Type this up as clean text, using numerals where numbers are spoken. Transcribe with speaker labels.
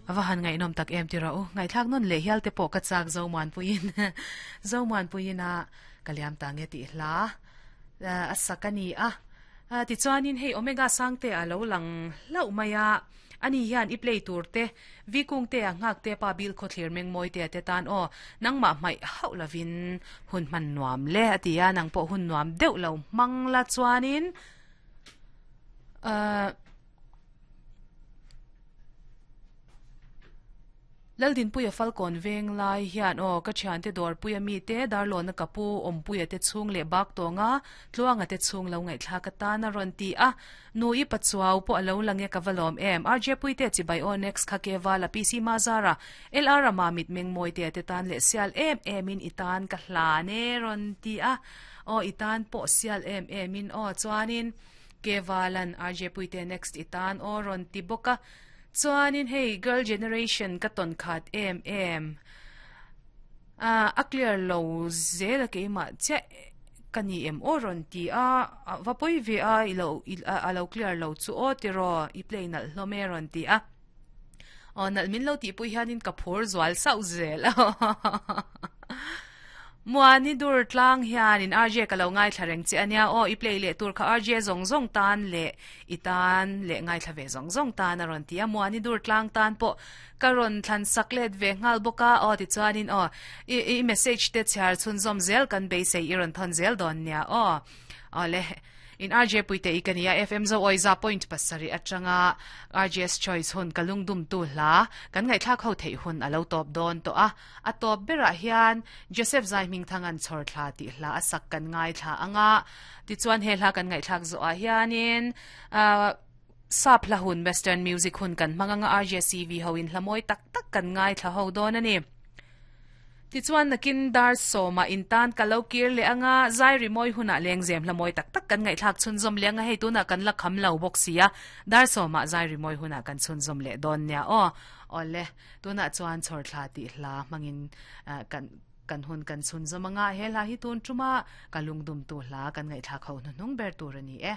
Speaker 1: A va han ngaihnawm tak em tira u. Ngaihthlak nawn leh hial te pawh ka chak Zomuanpuiin Zomuanpuiin a ka liam ta nge tih hla a sak a ni a. Tichuanin hei Omega Sangte a lo lang hlauh mai a. Ani hian i play tur te, Vi Kungte a nghak te pa Bill Khawthlir Mengmawi te a te tan aw nangmah hmaih hauh lovin hun hman nuam le a ti a, nang pawh hun nuam deuh lo hmang la chuanin ahh Laldinpuia Falkawn veng lai hian aw ka thiante dawrpuia mite Darlawna ka pu Awmpuia te chhung leh bak tawnga Tluanga te chhung lo ngaihthlak atan a rawn ti a, Nu i Pachuau pawh a lo lang e ka va lawm em RJ Puite chibai aw next kha ke vala PC Mazara LR a Mamit Mengmawite te tan leh sial em em in i tan ka hlan e rawn ti a aw i tan pawh sial em em in aw chuanin ke valan RJ Puite next i tan aw rawn ti bawk a chuanin hei girl generation ka tawn khat em em a clear lo zel a keimah chiah ka ni em aw rawn ti a va pawi ve a i lo a lo clear lo chu aw tiraw i play nalh hlawm e rawn ti a aw nalh min lo tihpui hianin ka phur zual sauh zel a Muani dur tlang hianin RJ ka lo ngaithla reng che ania aw i play leh tur kha RJ zawng zawng tan leh i tan leh ngaithla ve zawng zawng tan a rawn ti a Muani dur tlang tan pawh ka rawn thlan sak let ve nghal bawk a aw tichuanin aw i i message te chhiar chhunzawm zel kan beisei i rawn thawn zel dawn nia aw aw le In RJ Puite i ka nia FM Zo awi za point pasarih atanga RJ's Choice hun ka lungdum tu hla kan ngaihthlak ho theih hun a lo tawp dawn tawh a. A tawp berah hian Joseph Zaihmingthanga'n chhawr thla tih hla a sak kan ngaithla ang a. Tichuan he hla kan ngaihthlak zawhah hianin sap hla hun Western music hun kan hmang ang a RJCV ho in hla mawi tak tak kan ngaithla ho dawn a ni. Tichuan nakin dar sawmah intan ka lo kir leh ang a, zai rimawi hunah lengzem hla mawi tak tak kan ngaihthlak chhunzawm leh ang a, hei tunah kan la kham lo bawk si a, dar sawmah zai rimawi hunah kan chhunzawm leh dawn nia aw. Awle, tunah chuan chhawrthla tih hla hmangin kan kan hun kan chhunzawm ang a, he hla hi tun tuma ka lungdumtu hla kan ngaihthlak ho hnuhnung ber tur a ni e.